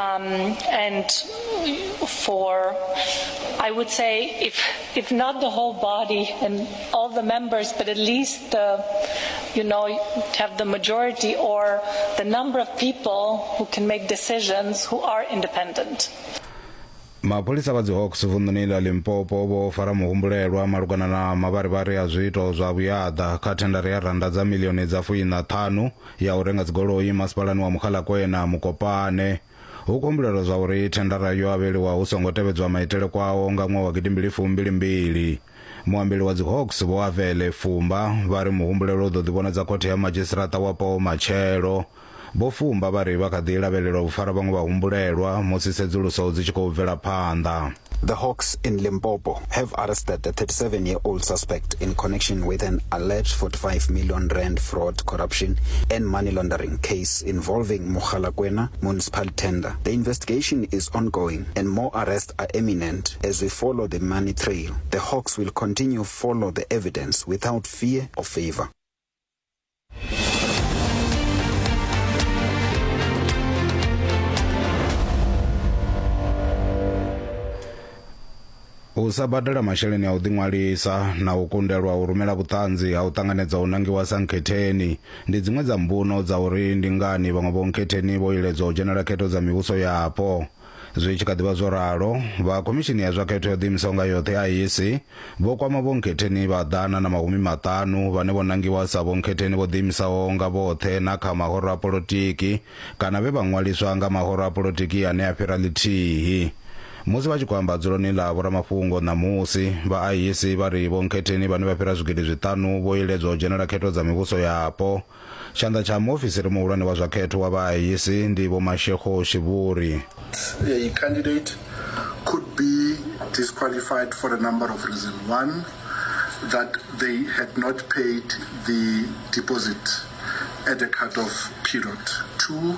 And for, I would say, if if not the whole body and all the members, but at least the, you know, have the majority or the number of people who can make decisions who are independent. Mapholisa vha dzihawks vunḓuni ḽa Limpopo vho fara muhumbulelwa malugana na mavharivhari a zwiito zwa vhuyaḓa kha thendara ya rannda dza miḽioni dza fuiṋa ṱhanu ya u renga dzigoloi masipalani wa Mogalakwena, Mokopane. Hu khou humbulelwa zwa uri thendara yo avheliwa hu songo tevhedzwa maitele kwao nga ṅwaha wa gidimbili fumbili mbili. Muambeli wa dzihawks Vho Avele Fumba vha ri muhumbulelwa u ḓo ḓivhonadza khothe ya madzhisiṱiraṱa wapo matshelo. Vho Fumba vha ri vha kha ḓi lavhelelwa u fara vhaṅwe vhahumbulelwa musi tsedzuluso dzi tshi khou bvela phanḓa. The Hawks in Limpopo have arrested a 37-year-old suspect in connection with an alleged 45 million rand fraud, corruption and money laundering case involving Mogalakwena municipal tender. The investigation is ongoing and more arrests are imminent as we follow the money trail. The Hawks will continue follow the evidence without fear or favor. U sa badela masheleni a u ḓiṅwalisa na u kundelwa u rumela vhuṱanzi ha u ṱanganedza u nangiwa sa nkhetheni ndi dziṅwe dza mbuno dza uri ndi ngani vhaṅwe vho nkhetheni vho iledzwa u dzhenela khetho dza mivhuso yapo. Zwi tshi kha ḓi vha zwo ralo, vha Khomishini ya zwa Khetho yo Ḓiimisaho nga Yoṱhe, IEC, vho kwama vhonkhetheni vha 150 vhane vho nangiwa sa vhonkhetheni vho ḓiimisaho nga vhoṱhe na kha mahoro a polotiki kana vhe vha ṅwaliswa nga mahoro a polotiki ane a fhira ḽithihi. Musi vha tshi khou amba dzuloni ḽa vhoramafhungo ṋamusi, vha IEC vha ri vhonkhetheni vhane vha fhira zwigidi zwiṱanu vho iledzwa u dzhenela khetho dza mivhuso yapo. Tshanḓa tsha muofisiri muhulwane wa zwa khetho wa vha IEC ndi Vho Mashego Shivhuri. A candidate could be disqualified for a number of reasons. One, that they had not paid the deposit at the cutoff period. Two,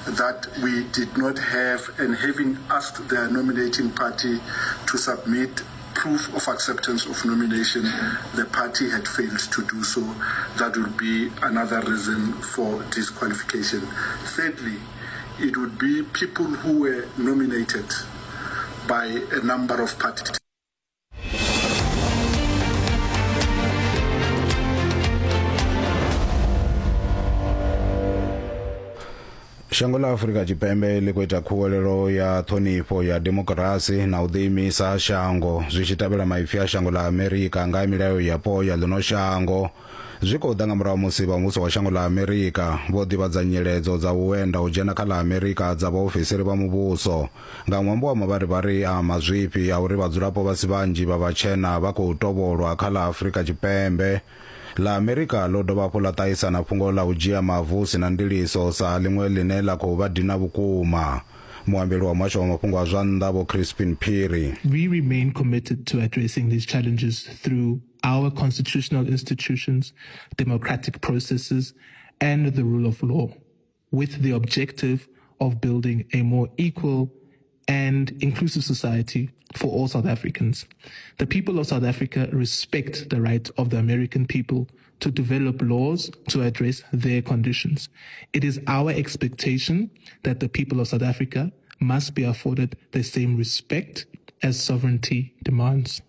that we did not have, and having asked their nominating party to submit proof of acceptance of nomination, the party had failed to do so. That would be another reason for disqualification. Thirdly, it would be people who were nominated by a number of parties. Shango ḽa Afrika Tshipembe ḽi khou ita khuwelelo ya ṱhonifho ya demokirasi na u ḓiimisa ha shango zwi tshi tevhela maipfi a shango ḽa Amerika nga ha milayo yapo ya ḽino shango. Zwi khou ḓa nga murahu musi vha muvhuso wa shango ḽa Amerika vho ḓivhadza nyiledzo dza u enda u dzhena kha ḽa Amerika dza vhaofisiri vha muvhuso nga ṅwambo wa mavharivhari a mazwifhi a uri vhadzulapo vha si vhanzhi vha vhatshena vha khou tovholwa kha ḽa Afrika Tshipembe. Ḽa Amerika ḽo dovha hafhu ḽa ṱahisa na fhungo ḽa u dzhia mavu hu si na ndiliso sa ḽiṅwe ḽine ḽa khou vha dina vhukuma. Muambeli wa muhasho wa mafhungo a zwa nnḓa Vho Chrispin Phiri. We remain committed to addressing these challenges through our constitutional institutions, democratic processes, and the rule of law, with the objective of building a more equal and inclusive society for all South Africans. The people of South Africa respect the right of the American people to develop laws to address their conditions. It is our expectation that the people of South Africa must be afforded the same respect as sovereignty demands.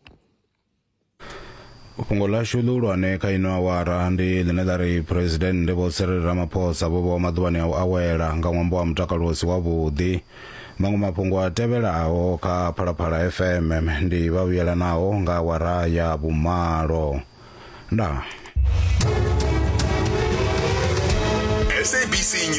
Fhungo ḽashu ḽihulwane kha ino awara ndi ḽine ḽa ri Phresidennde Vho Cyril Ramaphosa vho vhewa maḓuvhani a u awela nga ṅwambo wa mutakalo u si wavhuḓi. Maṅwe mafhungo a tevhelaho kha Phalaphala FM ndi vha vhuyelanaho nga awara ya vhumalo. Ndaa.